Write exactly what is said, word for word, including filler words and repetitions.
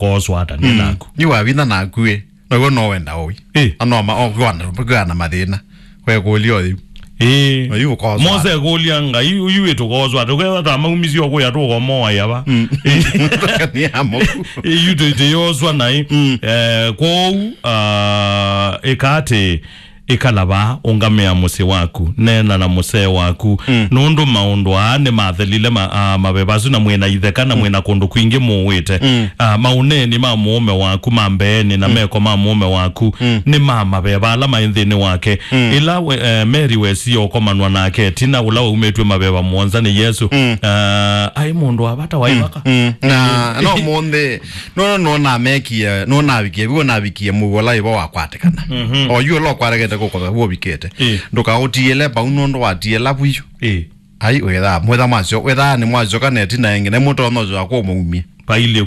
kooswa ata nĩ naku. Yu wavinya naku ĩ. Naw'o no wenda ũi. Ĩ. Anoma, o, kwĩana, kwĩana mathĩna. Kwekũlya ũyũ. Ĩ. Na yu ũkooswa. Mose ekũlya Ngai, yu wĩtũkooswa ata? Ũkethwa ta maumisye o kũya tũkomoa yava. Mm. Ĩ. Nĩ ya mũku. Ĩ, yu tũ-, tũyoswa naĩ. Mm. Eh, kwoou, ah, ĩka atĩ, ĩkala vaa, ũngamĩa mũsyĩ waku, neena na mũsee waku, mm, nũndũ maũndũ aa nĩmathelile ma-, a, maveva asu, na mwĩ na itheka, na mwĩ na kũndũ kwingĩ mũũĩte. Mm. A, maũneeni ma mũũme waku ma mbeenĩ na, mm, meko ma mũũme waku, mm, nĩ ma maveva ala maĩ nthĩnĩ wake. Mm. Ĩla we, eh, Mary wesie ũkomanwa nake ĩtina ũla waumĩtw'e maveva mũonza nĩ Yesũ, mm, ah, aĩ mũndũ wa vata wa, mm, ivaka. Mm. Na no mũnthĩ, no, no, no namekie, no navikie, vĩu navikie mũu ũla ĩvo wakwatĩkana. Mhm. O yu ũla ũkwaregete kũkova, vĩu ũvikĩte. Ĩ. Ndũkaũtiĩle vau nũndũ watiĩla vu yu. Ĩ. Ai, wĩthaa, mwĩtha mwasyo, wĩthaa nĩ mwasyoka na ĩtina ĩngĩ, na mũtonya ũsyoka kũmũumia. Vailye.